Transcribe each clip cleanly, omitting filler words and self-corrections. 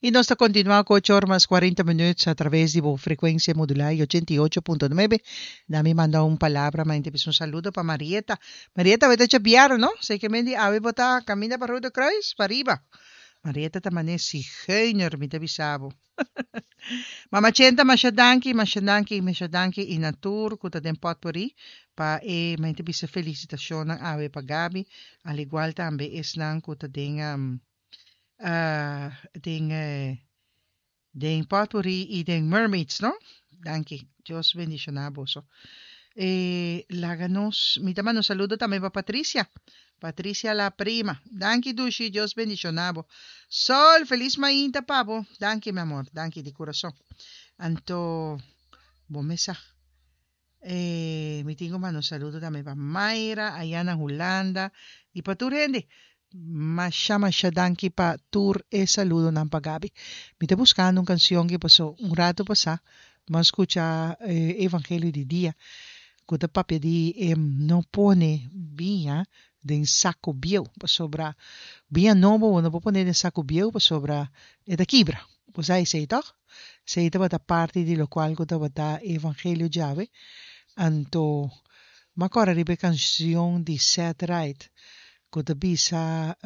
Y nos ta continua cu ocho or mas cuarenta minuut a traves di bo frecuencia modula y ochenta y ocho punto nuebe. Na mi manda un palabra ma inter bisa un saludo pa Marieta. Marieta awe ta chabiaro no? Sei ke men di awe bo ta caminda pa Rode Kruis pariba. Marieta ta mane zigeuner mi ta bisa bo. Mama Chenta masha danki masha danki masha danki y na tur cu ta den potpourri pa e ma inter bisa felicitacionnan awe pa Gaby al igual tambe esnan cu ta den den den potpourri y den mermaids no danki Dios bendiciona boso e laga nos mi ta manda un saludo tambe pa Patricia Patricia la prima danki dushi Dios bendiciona bo Sol feliz mainta pa bo danki mi amor danki di curason anto bo mesa E mi tin ku manda un saludo tambe pa Mayra aya na Hulanda i pa tur hende. Masha masha danki pa tur e saludonan pa Gaby. Mi ta buskando un kansion ki paso un rato pasá mi a skucha e evangelio di dia ku ta papia di e no pone biña den saku bieu pasobra biña nobo bo no por pone den saku bieu pasobra e ta kibra. Bo sa esei tòg? Esei tabata parti di lokual ku tabata e evangelio djawe. Anto m'a kòrda riba e kanshon di Seth Wright ku ta bisa,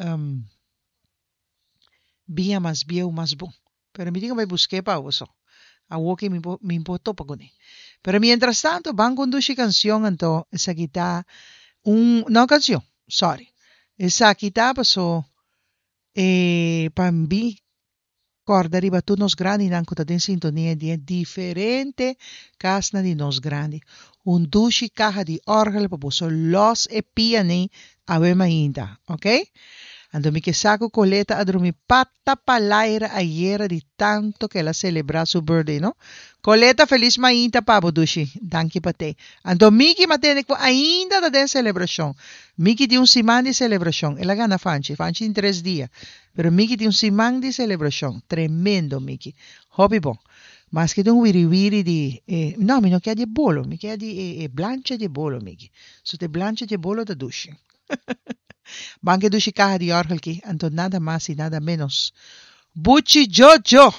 Biña mas bieu mas bon. Pero mi tin ku bai busk'é pa awo so. Awo ke mi por mi por topa kuné. Pero mientrastanto ban ku un dushi kanshon anto esaki ta un, no kanshon, sòri. Esaki ta paso e pa mi Kòrda riba tur nos grandinan ku ta den sintonia di e diferente kasnan di nos grandi. Un dushi kaha di òrgel pa boso lòs e piané awe mainta, ok? Anto mi ke sa ku Coleta a drumi pata palaira ayera di tanto ku el a selebrá su birthday, no? Coleta felis mainta pa bo dushi. Danki pa te. Anto Miki m'a tende ku ainda ta den selebrashon. Miki tin un siman di selebrashon. El a gana Fanchi. Fanchi tin tres dia. Pero Miki tin un siman di celebracion. Tremendo Miki. Hopi bon. Maske ta un wiri wiri di e, no mi no kier di e bolo, mi kier di e e blancha di e bolo Miki. So ta e blancha di e bolo ta dushi. Ban ke dushi caha di orgel ki, anto nada mas y nada menos. Buchi Jojo!